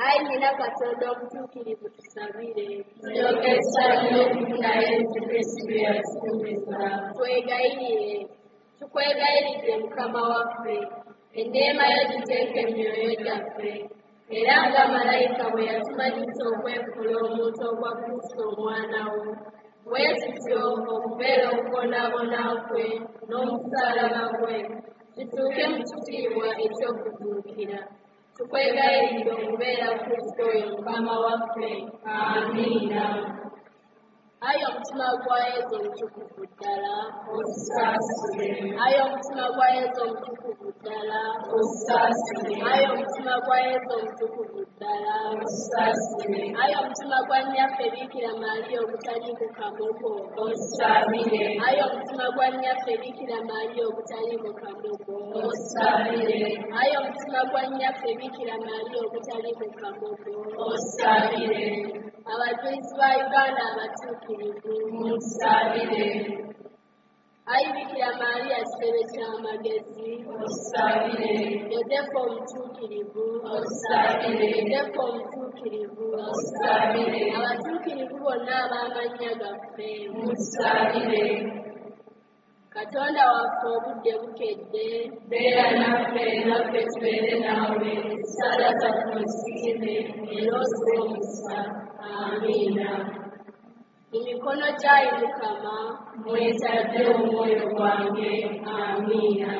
Ayi Nnyina Katonda omutuukirivu tusabire. Tulyoke tusaanire okufuna Yesu Kristo bye yatusuubiza. Twegayirire. Tukwegayiridde Mukama waffe, enneema yo giteeke mu myoyo gyaffe, era nga malayika bwe yatumanyisa okwefuula omuntu okwa Kristo omwana wo, bwe tutyo okubeera okubonaabona kwe n'omusaalaba gwe tutuuke mu kitiibwa eky'okuzuukira. Tukwegayiridde okubeera Kristo oyo Mukama waffe. Amiina. Ayi omutima gwa Yezu omutukuvu ddala, Otusaasire. Ayi omutima gwa Yezu omutukuvu ddala, Otusaasire. Ayi omutima gwa Yezu omutukuvu ddala, Otusaasire. Ayi omutima gwa Nnyaffe Biikira Maria ogutaliiko kamogo, Otusaabire. Ayi omutima gwa Nnyaffe Biikira Maria ogutaliiko kamogo, Otusaabire. Ayi omutima gwa Nnyaffe Biikira Maria ogutaliiko kamogo, Otusaabire. Abajulizi ba Uganda abatuukirivu, Mutusaabire. Ayi Biikira Maria kitebe ky'amagezi, Otusaabire. Yozefu omutuukirivu, Otusaabire. Yozefu omutuukirivu, Otusaabire. Abatuukirivu bonna ab'amannya gaffe, Mutusaabire. Katonda waffe obudde bukedde, Beera naffe, naffe tubeere naawe. Essaala zaffe ozisiime era oziwe omukisa. Amiina. Mu mikono gy'ayi Mukama Mwetadde omwoyo gwange. Amiina.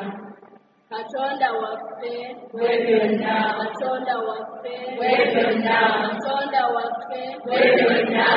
Katonda waffe, Gwe byonna, Katonda waffe, gwe byonna, Katonda waffe, gwe byonna.